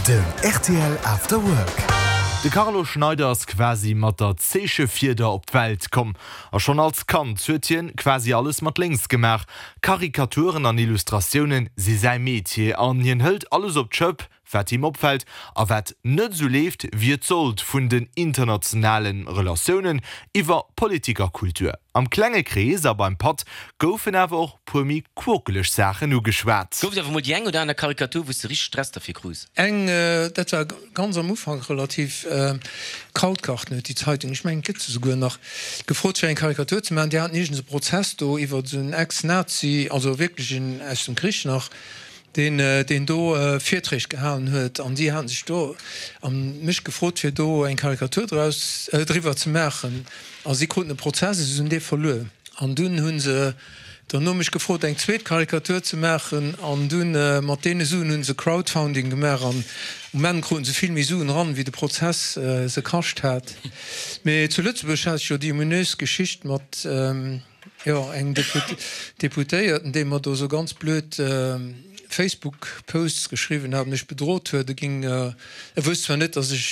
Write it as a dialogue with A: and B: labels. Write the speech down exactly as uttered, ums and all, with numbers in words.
A: Den R T L After Work.
B: De Carlo Schneider ass quasi mat der Zeechefieder op d'Welt komm. A schonn als Kand huet hien quasi alles mat lénks gemaach. Karikaturen an Illustratioune si säi Metier an hien hëlt alles op d'Schëpp, wat him opfält a wat net sou leeft, wéi et sollt, vun den internationale Relatiounen iwwer Politik a Kultur. Am klenge Krees a beim Patt goufen awer och puer méi quokeleg Saachen ugeschwat.
C: Gouf et awer mol déi eng oder aner Karikatur, wou s de richteg Stress derfir krus?
D: Eng, dat war ganz am Ufank relativ, Krautgarten huet déi Zeitung, ech mengen et gëtt se souguer nach, gefrot fir eng Karikatur ze maachen. Déi haten iergends e Prozess do iwwer esou en Ex-Nazi, also wierklech een aus dem Krich nach, deen deen do Virträg gehalen huet an si haten sech do a mech gefrot fir do eng Karikatur draus driwwer ze maachen a si kruten e Prozess a si hunn dee verluer an dunn hu se derno mech gefrot eng zweet Karikatur ze maachen an dunn mat deene Suen hu se Crowdfounding gemaach an um Enn kruten se vill méi Suen eran wéi de Prozess se kascht hat. Mee zu Lëtzebuerg hat ech jo déi ominös Geschicht mat jo engem Deputéierten, dee mer do sou ganz blöd Facebook Posts geschriwwen hat, mech bedrot huet, e ging, e wousst zwar net, datt ech.